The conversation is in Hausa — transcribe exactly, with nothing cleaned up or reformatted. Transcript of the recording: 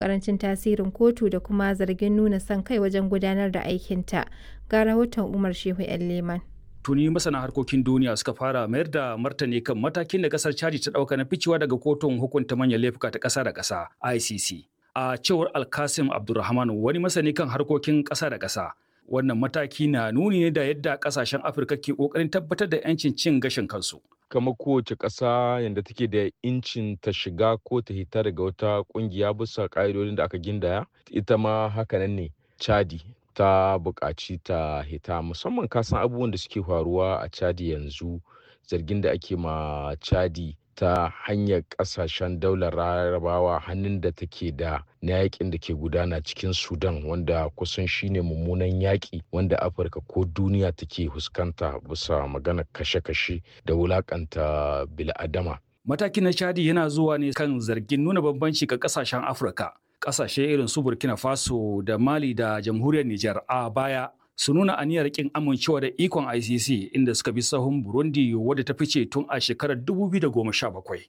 Ƙarancin tasirin kotu da kuma zargin nuna son kai wajen gudanar da aikinta. Ga rahoton Umar Shehu 'Yan Leman. Tuni masana harkokin duniya suka fara mayar da martani kan matakin da kasar Chadi ta dauka na ficewa daga kotun hukunta manyan laifuka ta kasa da kasa I C C. A cewar Alkasim Abdulrahman, wani masani kan harkokin kasa da kasa, wannan mataki na nuni ne da yadda kasashen Afirka ke kokarin tabbatar da 'yancin cin gashin kansu. Kamar kowace ƙasa yadda take da incin ta shiga ko ta hita daga wata ƙungiya bisa ƙa'idodin da aka gindaya, ita ma hakanan ne Chadi ta buƙaci ta hita, musamman kasan abubuwan da suke faruwa a Chadi yanzu, zargin da ake ma Chadi ta hanyar ƙasashen daular Larabawa, hannun da take da na yakin da ke gudana cikin Sudan, wanda kusan shine mummunan yaƙi wanda Afirka ko duniya take fuskanta bisa maganar kashe-kashe da wulakanta bil'adama. Matakin na Chadi yana zuwa ne kan zargin nuna bambanci ga kasashen Afirka. Kasashe irin su Burkina Faso da Mali da Jamhuriyar Nijar a baya su nuna aniyar kin amincewa da ikon I C C, inda suka bi sahun Burundi wadda ta fice tun a shekarar dubu biyu da goma sha bakwai.